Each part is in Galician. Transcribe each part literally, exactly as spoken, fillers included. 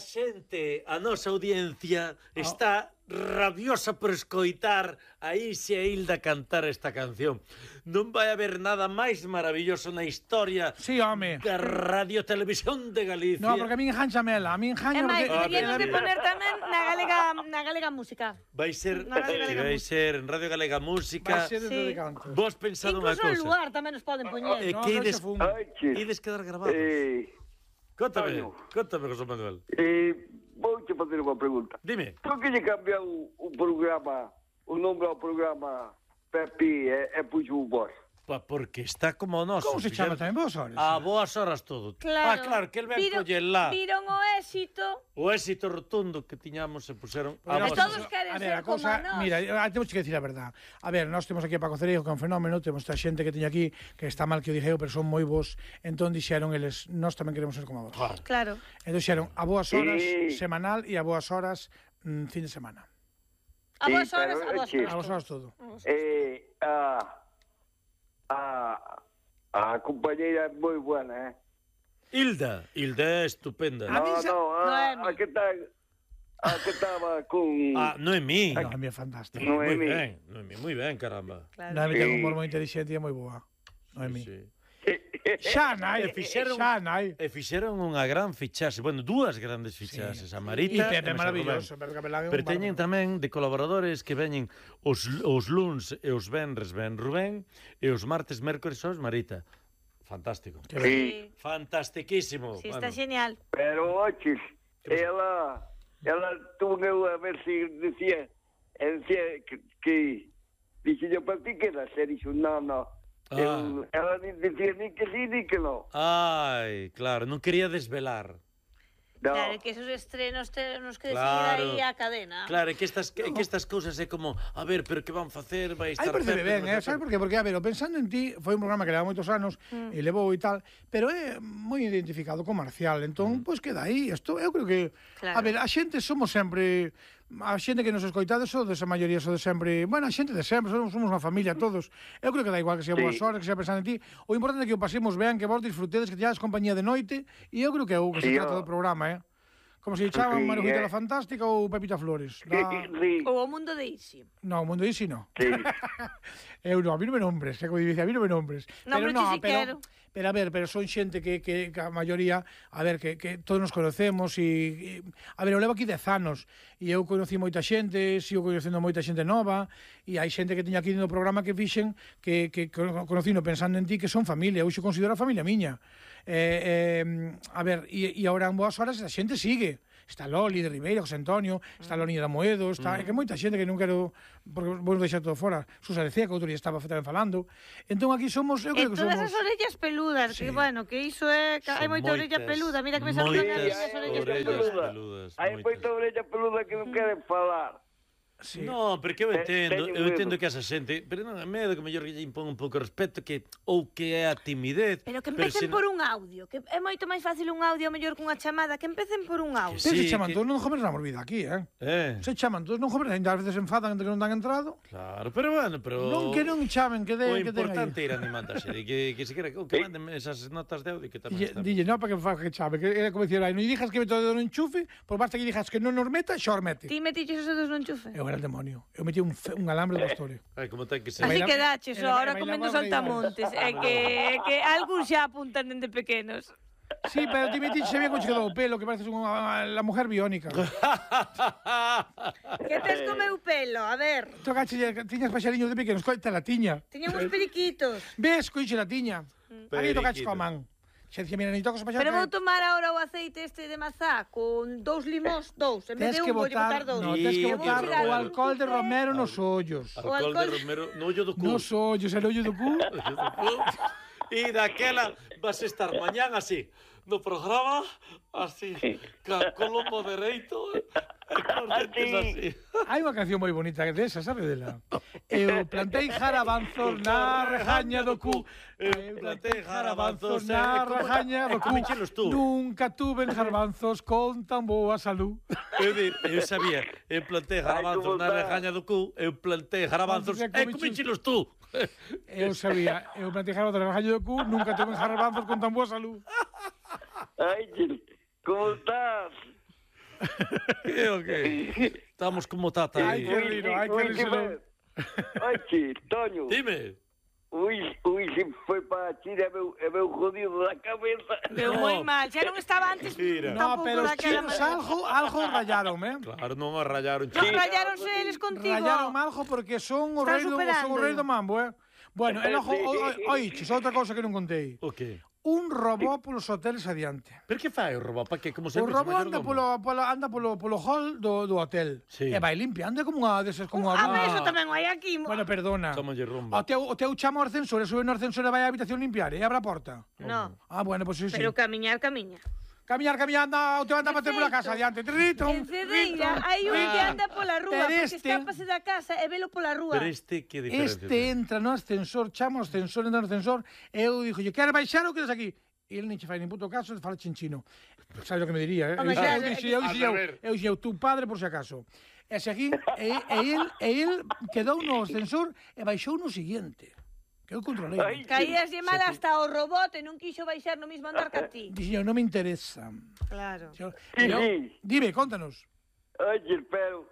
xente, a nosa audiencia, está rabiosa por escoitar a Isi e Hilda cantar esta canción. Non vai haber nada máis maravilloso na historia sí, home. da Radio Televisión de Galicia. No, porque a min enjanchamela, a min enjaña... É máis, porque... deberíamos de poner tamén na galega, na galega música. Vai ser, Na Radio Galega vai Música. ser en Radio Galega Música. Vai ser desde Sí. de canto. Vos pensado unha Incluso en cousa. lugar tamén nos poden poñer. Eh, No, que no ides, se fun. Ai, che. ides quedar grabados. Eh, Contame, Antonio. contame, José Manuel. eh, vou te facer unha pregunta. Dime. Por que lle cambiou o programa, o nombre ao programa Pepi e, e puxo o vos? Pa, porque está como o noso. Como se chama tamén vos, horas? A boas horas todo. Claro. Ah, claro, que el ven Viron- coller lá. Viron o éxito. O éxito rotundo que tiñamos se puseron a E Pero boas todos horas. queren a ver, ser a como cosa, nós. mira, ah, temos que decir a verdad. A ver, nós temos aquí a Paco Cereijo, que é un fenómeno, temos esta xente que teña aquí, que está mal que o dixeu, pero son moi bons, entón dixeron eles, nós tamén queremos ser como vos. Claro. Claro. Entón dixeron, a boas horas Sí. semanal e a boas horas mm, fin de semana. A Sí, vos horas, pero, a vos che, A boas horas todo. Eh, a, a, a compañeira é moi buena, eh? Hilda, Hilda é estupenda. A mí No, se- no, a, Noemi. a que está... A que estaba con... Ah, Noemí. No, a mí é fantástico. No. Moi Noemí. ben, Noemí, moi ben, caramba. Claro. Noemi ten un Sí. humor moi inteligente e é moi boa. Noemi. Sí. Xa nai, E fixeron- xa nai. E fixeron unha gran fichaxe, bueno, dúas grandes fichaxes, a Marita E Pepe e maravilloso, Rubén. Pepe Capelán é un Pero teñen bárbaro. tamén de colaboradores que veñen os, os luns e os venres ven Rubén e os martes, mércores os Marita. Fantástico. Que ben. Sí, Fantastiquísimo. Sí, está Bueno, genial. pero, oches, ela... Ela tuvo a ver se decía... Decía que... que dixe yo para ti que era ser, dixo, no, no. Ah. Eu, ela ni decía ni que sí ni que no. Ai, claro, non quería desvelar. No. Claro, que esos estrenos tenemos que decidir Claro. aí a cadena. Claro, é que estas, que, que estas cousas é como, a ver, pero que van facer, vai Ai, estar parece Pepe, ben, non eh? sei Sabes que- por qué? Porque, a ver, o Pensando en ti foi un programa que leva moitos anos Mm. e levou e tal, pero é moi identificado co Marcial, entón, pois queda aí. Isto, eu creo que, Claro. a ver, a xente somos sempre, a xente que nos escoitades sodes a maioría sodes sempre, bueno, a xente de sempre, somos, somos unha familia todos. Eu creo que dá igual que sea Sí. boas horas, que sea Pensando en ti. O importante é que o pasemos ben, que vos disfrutedes, que teades compañía de noite, e eu creo que é o que se Sí, trata ó. do programa, eh? Como se chaman Sí, Marujita eh. la Fantástica ou Pepita Flores. Da... Sí, Ou o mundo de Isi. No, o mundo isi no. sí. Eu non, a mí non me nombres, que como dice, a mí non me nombres. No, pero pero no, ti si pero, quero. pero a ver, pero son xente que, que, que a maioría, a ver, que, que todos nos conocemos e, e a ver, eu levo aquí dez anos e eu conocí moita xente, sigo conocendo moita xente nova e hai xente que teña aquí no programa que fixen que, que cono- conocí no Pensando en ti que son familia, eu xo considero a familia miña. Eh, eh, a ver, e, e agora en boas horas a xente sigue. Está Loli de Ribeira, José Antonio, está Loni da Moedo, está, é que moita xente que non quero, porque vos deixar todo fora, Susa de Cea, que outro día estaba tamén falando. Entón aquí somos, eu E creo que todas somos... as orellas peludas, Sí. que bueno, que iso é... Son Hai moita orella moitas, peluda, mira que me saludan moitas as miñas orellas peludas. peludas. Hai moitas. moita orella peluda que non queren falar. Sí. No, porque eu Te- entendo, teño eu medo. entendo que esa xente, pero non é medo que mellor que lle impón un pouco de respeto que ou que é a timidez. Pero que empecen se por un audio, que é moito máis fácil un audio mellor que unha chamada, que empecen por un audio. Pero Sí, se chaman que- todos, non joven damos vida aquí, eh? Eh, Se chaman todos, non joven, ainda ás veces se enfadan entre que non dan entrado. claro, pero bueno, pero Non que non chamen, que o den, que den importante é aí. ir animando a xente, que que se quera que, que manden esas notas de audio que tamén Dille, están. dille, non, para que fa que chame, que era como dicir, ai, non dixas que me todo no enchufe, por basta que dixas que non nos meta, xor mete. Ti metiches os dedos no enchufe? Eu era el demonio. Eu metí un, fe- un alambre do bastore. Ai, como ten que ser. Así Baila- que daches, era- ahora bailaba comendo bailar. saltamontes. É que, é que algúns xa apuntan dende pequenos. Sí, pero ti metí, se ve como che quedou o pelo, que pareces unha, la mujer biónica. Que tes co meu pelo? A ver, Tocache, tiñas paxariños de pequenos, coita la tiña. tiña uns periquitos. Ves, coiche la tiña. Aquí tocache Periquito. coa man. Xe dicía, mira, ni tocas o paxar. Pero vou tomar agora o aceite este de mazá con dous limóns, dous. En vez Tens de que un, vou botar, botar dous. no, tens que Sí, botar claro. o alcohol de romero nos ollos. O Alcohol de alcohol- Romero no ollo do cu. Nos ollos, el ollo do cu. E daquela vas a estar mañán así, no programa, así, ca colombo dereito, e cos dentes así. Hai unha canción moi bonita desa, sabe dela? Eu plantei jarabanzos na rejaña do cu. Eu plantei jarabanzos na rejaña do cu. Como enchelos tú? Nunca tuve garbanzos con tan boa salud. Eu, dir, eu sabía, eu plantei jarabanzos na rejaña do cu, eu plantei jarabanzos, Entonces, e como como enchelos tú? Eu sabía, eu plantei jarabanzos na rejaña do cu, nunca tuve garbanzos con tan boa salud. Ai, Gil, como estás? Que o que? Estamos como tata Ai, aí. que riro, ai, que riro. Ai, che, Toño. Dime. Ui, ui, se foi para a China, é meu, é meu jodido da cabeza. Veu No. moi mal, xa non estaba antes Mira. No, tampouco pero os daquela chinos maneira. algo, algo rayaron, eh? Claro, non o rayaron. Non chico. rayaronse eles contigo. Rayaron algo porque son o Están rei do, son o superándolo. rei do mambo, eh? Bueno, e logo, oiches, outra cousa que non contei. O que? Un robot polos hoteles adiante. Per que fai o robot? Pa que? Como O sempre, robot anda polo, polo, anda polo, polo hall do, do hotel. Sí. E vai limpiando, é como unha deses, como A unha... ver, eso tamén hai aquí. Bueno, perdona. Chámolle O rumba. teu, o teu chama o ascensor, e sube no ascensor e vai á habitación limpiar e abre a porta. No, Ah, bueno, pois pues sí, sí. pero camiñar, camiña. Camiñar, camiñar, anda, o teu anda a bater pola casa adiante. Trito, En Cedeira hai un que anda pola rúa, Pero porque este- escápase da casa e velo pola rúa. Pero este, que diferencia? Este entra no ascensor, chama o ascensor, entra no ascensor, e eu dixo, queres baixar ou quedes aquí? E ele non che fai nin puto caso, fala chinchino. Sabes o que me diría, eh? Home, Eu claro, dixo, eu dixo, eu, eu dixo, tu padre por si acaso. E seguín, e, e, el, e el quedou no ascensor e baixou no siguiente. Que eu controlei. Ai. Caías de mal hasta o robot e non quixo baixar no mismo andar que a ti. Dixo, non me interesa. Claro. Yo, Sí, yo, sí. dime, contanos. Ai, che, pero...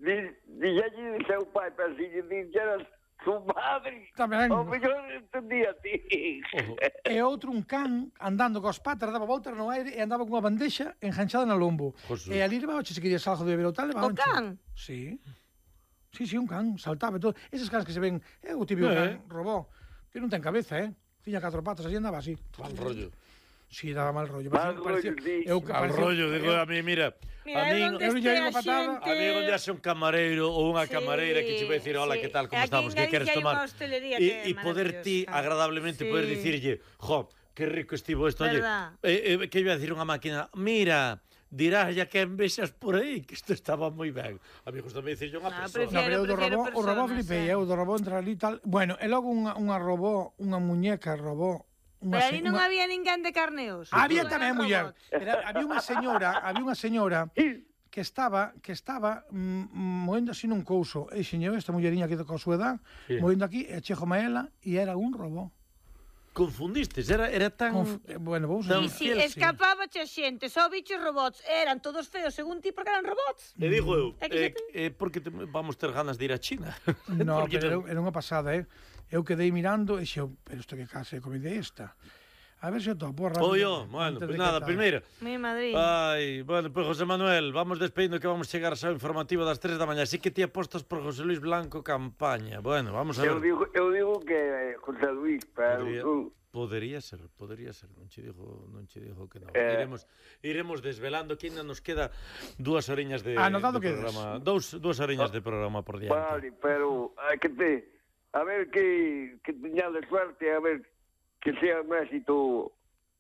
Dixalle de seu pai, pero se lle dixeras su madre... Tamén. O mellor entendía a ti. Ojo. E outro un can andando cos patas, daba voltas no aire e andaba con unha bandexa enganchada no lombo. Josu. E ali levaba, se querías algo de beber ou tal, levaba. O can? Sí. Sí, sí, un can, saltaba e todo. Eses cans que se ven, é o típico Eh. can robó, que non ten cabeza, eh? Tiña catro patas, así andaba así. Mal rollo. Sí, daba mal rollo. Mal Parecía- rollo, sí. eu, Mal parecía- rollo, digo eu- a mí, mira. Mira, a eu min, onde eu lle este digo a patada, xente... a mí onde haxe un camareiro ou unha Sí, camareira que che vai dicir, hola, sí. que tal, como Aquí en estamos, que Galicia queres hai tomar? unha hostelería E, que é e poder ti maravillosa. agradablemente Sí. poder dicirlle, jo, que rico estivo isto, oye, Verdad. eh, eh, que iba a decir unha máquina, mira, dirás ya que envexas por aí, que isto estaba moi ben. A mí gusta dicirlle unha No, persona. No, pero eu do Prefiero robó, o robó personas, flipei, eh. eu do robó entra ali tal. Bueno, e logo unha, unha robó, unha muñeca robó. Unha Pero ali se- non unha- había ninguén de carneos. Había Todo era tamén muller. robot. Pero había unha señora, había unha señora que estaba que estaba mm, moendo así nun couso. E xeñeu esta mulleriña que coa súa edad, Sí. moendo aquí, e chego maela e era un robó. Confundistes, era, era tan... Conf... eh, Bueno, vamos Tan a Si fiel, sí. escapaba a xente, só bichos robots, eran todos feos según ti porque eran robots. E digo eu, É que eh, se eh, porque te, vamos ter ganas de ir a China. No, Porque pero era, era unha pasada, eh? Eu quedei mirando e xeo, pero isto que casa de comida é esta? A ver se o topo rápido. Oye, bueno, antes pues de nada, que tal. primeiro. Mi Madrid. Ai, bueno, pues José Manuel, vamos despedindo que vamos chegar ao informativo das tres da mañá. Así que ti apostas por José Luis Blanco campaña. Bueno, vamos a Eu ver. digo, eu digo que é José Luis, pero... Podría, tú- podería ser, podería ser, non che digo, non che digo que non. Eh. Iremos iremos desvelando que ainda nos queda dúas horiñas de, Anotado de quedas. programa, dous dúas horiñas de programa por diante. Vale, pero hai que te... A ver que, que teñades suerte, a ver que sea un éxito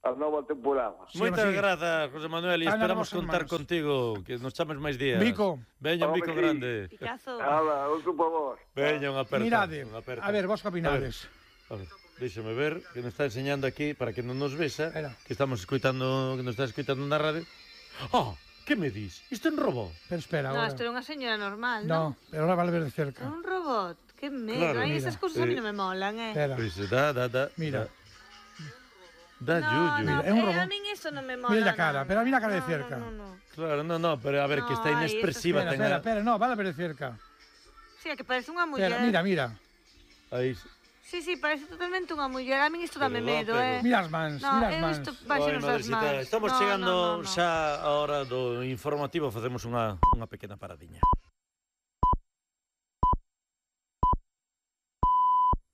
a nova temporada. Sí, Moitas sí. grazas, José Manuel, e Ana, esperamos vosas contar mans. contigo, que nos chames máis días. Vico. Veña un Home, bico sí. grande. Picazo. Hala, outro por vos. Veña unha aperta. Mirade, unha aperta. a ver, vos que opinades? A ver, déxame ver, que nos está enseñando aquí, para que non nos vexa, Era. que estamos escuitando, que nos está escuitando na radio. Ah, que me dis? Isto é un robot? Pero espera, No, agora. isto era unha señora normal, No, non? pero ahora vale ver de cerca. Un robot. Que medo. Claro, Ai, mira. esas cousas a mí Eh, non me molan, eh. Espera. Pois da, da, da. Mira. Da, da No, yuyu. no, É un eh, robot. a min iso non me mola. Mira a cara, non. pero a mí la cara de No, cerca. No, no, no. Claro, no, no, pero a ver, que está No, ai, inexpresiva. Espera, ten espera, a- espera, no, vale ver de cerca. Sí, é que parece unha muller. Espera, mira, mira. Aí. Sí, sí, parece totalmente unha muller. A min isto dame Pero, medo, pero- eh. Mira as mans, No, mira as eu mans. isto Ai, baixen as madrecita, mans. estamos No, chegando no, no, no. xa a hora do informativo, facemos unha, unha pequena paradiña.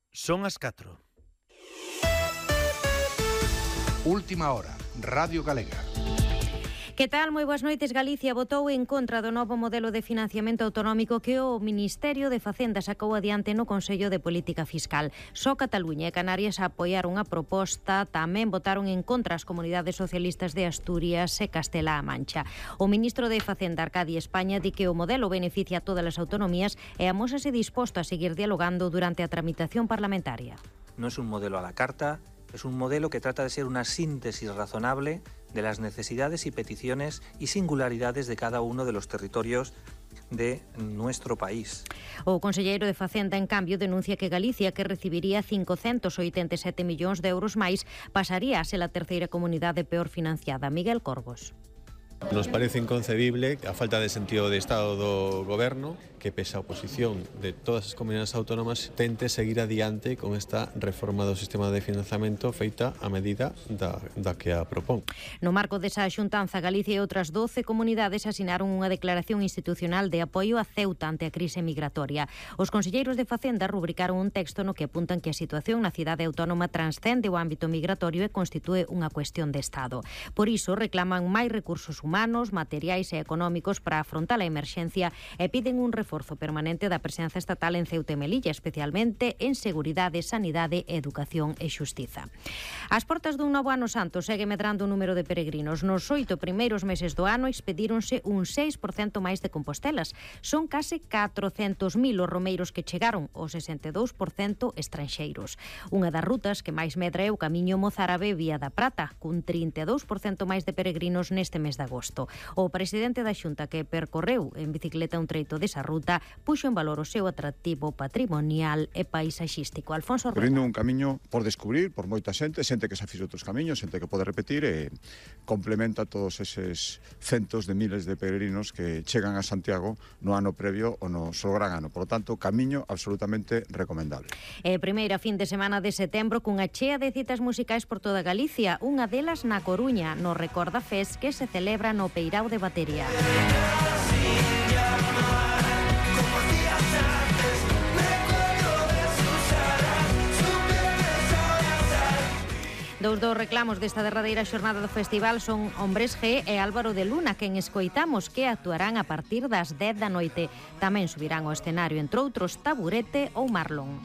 Son as catro. Última hora, Radio Galega. Que tal? Moi boas noites. Galicia votou en contra do novo modelo de financiamento autonómico que o Ministerio de Facenda sacou adiante no Consello de Política Fiscal. Só Cataluña e Canarias apoiaron a proposta, tamén votaron en contra as comunidades socialistas de Asturias e Castela-A Mancha. O ministro de Facenda, Arcadi España, di que o modelo beneficia a todas as autonomías e amósase disposto a seguir dialogando durante a tramitación parlamentaria. No es un modelo a la carta, es un modelo que trata de ser una síntesis razonable de las necesidades y peticiones y singularidades de cada uno de los territorios de nuestro país. O conselleiro de Facenda, en cambio, denuncia que Galicia, que recibiría cincocentos oitenta e sete millóns de euros máis, pasaría a ser a terceira comunidade peor financiada. Miguel Corgos. Nos parece inconcebible a falta de sentido de Estado do Goberno que, pese a oposición de todas as comunidades autónomas, tente seguir adiante con esta reforma do sistema de financiamento feita a medida da, da que a propón. No marco desa xuntanza, Galicia e outras doce comunidades asinaron unha declaración institucional de apoio a Ceuta ante a crise migratoria. Os conselleiros de Facenda rubricaron un texto no que apuntan que a situación na cidade autónoma transcende o ámbito migratorio e constitúe unha cuestión de Estado. Por iso, reclaman máis recursos humanos, materiais e económicos para afrontar a emerxencia e piden un reforzo permanente da presenza estatal en Ceuta e Melilla, especialmente en seguridade, sanidade, educación e xustiza. As portas dun novo ano santo segue medrando o número de peregrinos. Nos oito primeiros meses do ano expedíronse un seis por cento máis de compostelas. Son case catrocentos mil os romeiros que chegaron, o sesenta e dous por cento estranxeiros. Unha das rutas que máis medra é o camiño mozárabe Vía da Prata, cun trinta e dous por cento máis de peregrinos neste mes de agosto. O presidente da Xunta, que percorreu en bicicleta un treito desa ruta, puxo en valor o seu atractivo patrimonial e paisaxístico. Alfonso Rueda. Correndo un camiño por descubrir por moita xente, xente que xa fixo outros camiños, xente que pode repetir e complementa todos eses centos de miles de peregrinos que chegan a Santiago no ano previo ou no seu gran ano. Por lo tanto, camiño absolutamente recomendable. E primeira fin de semana de setembro cunha chea de citas musicais por toda Galicia, unha delas na Coruña, no Recorda Fest que se celebra no Peirao de Batería. Dous dos reclamos desta derradeira xornada do festival son Hombres G e Álvaro de Luna, quen escoitamos que actuarán a partir das dez da noite. Tamén subirán ao escenario, entre outros, Taburete ou Marlon.